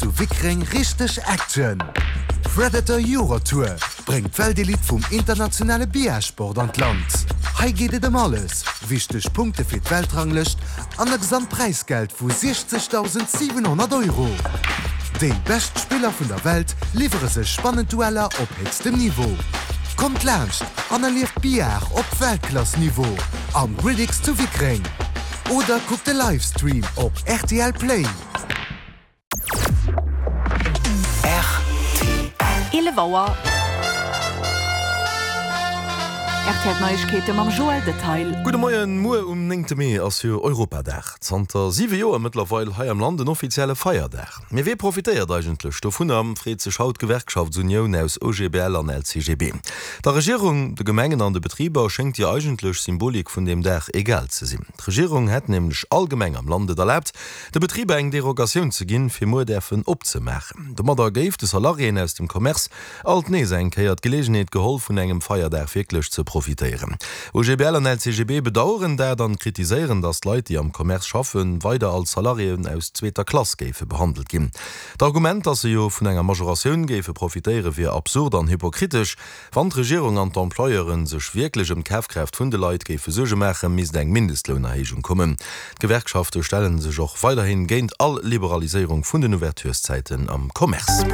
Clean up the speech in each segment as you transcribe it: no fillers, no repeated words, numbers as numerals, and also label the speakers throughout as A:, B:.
A: zu Wickreng richteg Action! Predator Eurotour bréngt d'Weltelite vum internationale Billardsport an d'Land. Hei geet et ëm alles, wichteg Punkte fir d'Weltranglëscht an e Gesamtpräisgeld vu 60.700 Euro. Déi bescht Spiller vun der Welt liwwere sech spannend Dueller op héchstem Niveau. Kommt laanscht an erlieft Billard op Weltklass-Niveau am Gridix zu Wickreng oder kuckt de Livestream op rtl Play.
B: Rtl. 11 Auer. Rtl Neiegkeete mam Joël Detail.
C: Gudde Moien, Muer um néngte Mee ass jo Europadag. Zanter 7 Joer mëttlerweil hei am Land en offizielle Feierdag. Mee wee profitéiert eigentlech dovunner, freet sech haut d'Gewerkschaftsunioun aus OGBL an LCGB. Der Regierung, de Gemengen an de Betriber schéngt déi eigentlech Symbolik vun deem Dag egal ze sinn. D'Regierung hätt nämlech all Gemeng am Land et erlaabt, de Betriber eng Derogatioun ze ginn, fir muer däerfen opzemaachen. Domadder géif de Salariéen aus dem Commerce alt nees eng Kéier d'Geleegenheet geholl, vun engem Feierdag wierklech ze profitéieren. OGBL an LCGB bedaueren dat an kritiséieren, datt d'Leit, déi am Commerce schaffen, weider als Salariéen aus zweeter Klass géife behandelt ginn. D'Argument, datt se jo vun enger Majoratioun géife profitéieren, wier absurd an hypokritesch. Wann d'Regierung an d'Employeure sech wierklech ëm d'Kafkraaft vun de Leit géife Suerge maachen, misst eng Mindestlounerhéijung kommen. D'Gewerkschafte stelle sech och weiderhin géint all Liberaliséierung vun den Ouvertureszäiten am Commerce.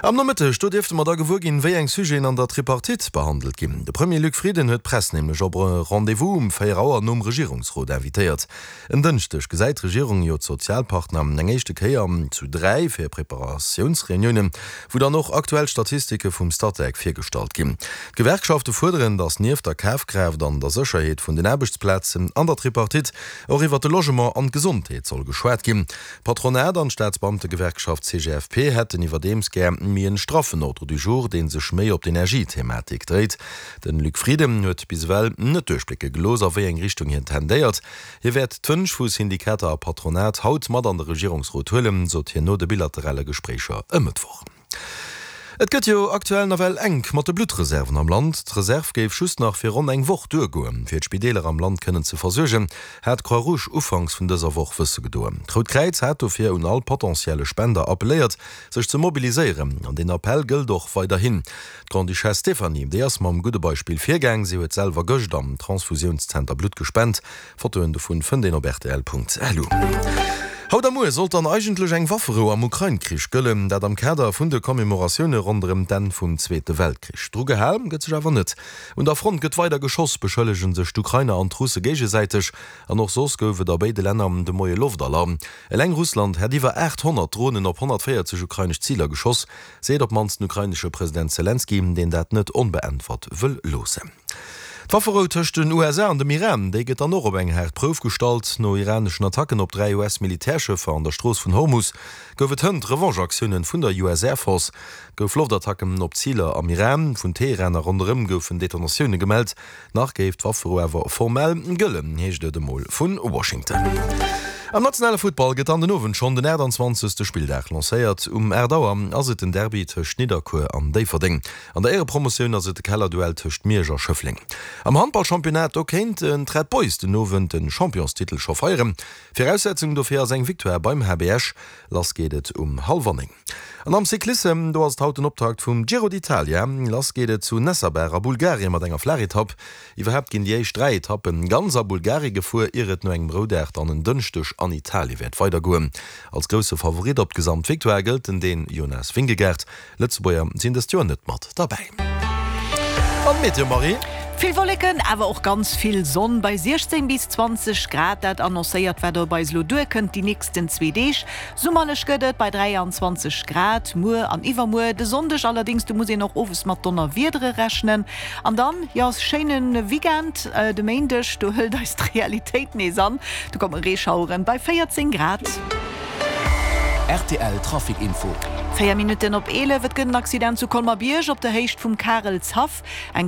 C: Am Nomëtteg, do dierfte mer da gewuer ginn, wéi eng Sujeten an der Tripartite behandelt ginn. De Premier Luc Frieden huet d'Press nämlech op e Rendez-vous um 4 Auer nom Regierungsrot invitéiert. En Dënschdeg gesäit d'Regierung jo d'Sozialpartner eng éischte Kéier zu 3 fir Preparatiounsreuniounen, wou dann och aktuell Statistike vum Statec virgestallt ginn. D'Gewerkschafte fuerderen, datt nieft der Kafkraaft an der Sécherheet vun den Aarbechtsplazen an der Tripartite och iwwer de Logement an d'Gesondheet soll geschwat ginn. D'Patronat an d'Staatsbeamtegewerkschaft CGFP hätten iwwerdeems gär méi en straffen Ordre du jour, dee sech méi op d'Energiethematik dréit. Den Luc Frieden huet bis ewell net duerchblécke gelooss, a wéi eng Richtung hien tendéiert. Hie wäert d'Wënsch vu Syndikater a Patronat haut mat an de Regierungsrot huelen, sot hien no de bilaterale Gespréicher e Mëttwoch. Et gëtt jo aktuell nawell enk mat de Bluttreserven am Land. D'Reserv géif just nach fir ronn eng Woch duergoen, fir d'Spideeler am Land kënnen ze versuergen, hat d'Croix Rouge ufanks vun dëser Woch wësse gedoen. D'Rout Kräiz hat dofir un all potentielle Spender appelléiert, sech ze mobiliséieren. An deen Appell gëllt och weiderhin. D'Grande-Duchesse Stéphanie, déi ass mam gudde Beispill virgaang. Si huet selwer gëscht am Transfusiounszenter Blutt gespent. Fotoen dovun fënnt een op rtl.lu. Haut a muer sollt dann eigentlech eng Wafferou am Ukrain-Krich gëllen, dat am Kader vun de Commemoratioune ronderëm d'Enn vum Zweete Weltkrich. Dru gehal gëtt sech awer net. Un der Front gëtt weider geschoss, beschëllege sech d'Ukrainer an d'Russe géigesäiteg. An och soss gouf et a béide Länner de Moie Loftalarm. Eleng Russland hätt iwwer 800 Dronen op 140 ukrainesch Ziler geschoss. Seet op d'mannst den ukrainesche President Selenskyj, deen dat net onbeäntwert wëll loossen. D'Wafferou tëscht den USA an dem Iran, déi gëtt dann och op eng haart Prouf gestallt. No iraneschen Attacken op 3 US-Militärschëffer an der Strooss vun Hormus gouf et hënt Revanche-Aktiounen vun der US Air Force. Et gouf Loftattacken op Ziler am Iran, vun Teheran a ronderëm goufen Detonatioune gemellt. Nach géif d'Wafferou awer formell gëllen, heescht et emol vu Washington. Am nationale Futtball gëtt dann den Owend schonn den 28. Spilldag lancéiert. Um 8 Auer ass et den Derby tëscht Nidderkuer an Déifferdeng. An der Éierepromotioun ass et de Kellerduell tëscht Miersch a Schëffleng. Am Handballchampionnat, do kéinten d'Red Boys den Owend de Championstitel scho feieren. Viraussetzung dofir ass eng Victoire beim HB Esch. Lass geet et um hallwer 9. An am Cyclissem, do ass et haut den Optakt vum Giro d'Italia. Lass geet et zu Nessebar a Bulgarien mat enger Flaachetapp. Iwwerhaapt ginn déi éischt 3 Etappen ganz a Bulgarie gefuer, ier et no engem Roudag dann en Dënschdeg an Italie wäert weidergoen. Als grousse Favorit op d'Gesamtvictoire gëllt den Dän Jonas Vingegaard. Lëtzebuerger sinn dëst Joer net mat derbäi. An d'Meteo, Marie?
B: Vill Wolleken, awer och ganz vill Sonn bei 16 bis 20 Grad. Dat annoncéiert, wat op eis elo duerkënnt déi nächsten zwee Deeg. Summerlech gëtt et bei 23 Grad muer an iwwermuer. De Sonndeg allerdéngs, do muss een och owes mat Donnerwiedere rechnen. An dann, jo, schéine Weekend. De Méindeg, do hëlt eis d'Realitéit nees an, do komme Reeschaueren bei 14 Grad.
D: Rtl Trafic Info.
B: 4 Minutten op 11, Et gëtt en Accident zu Colmer-Bierg op der Héicht vum Karelshaff. Eng.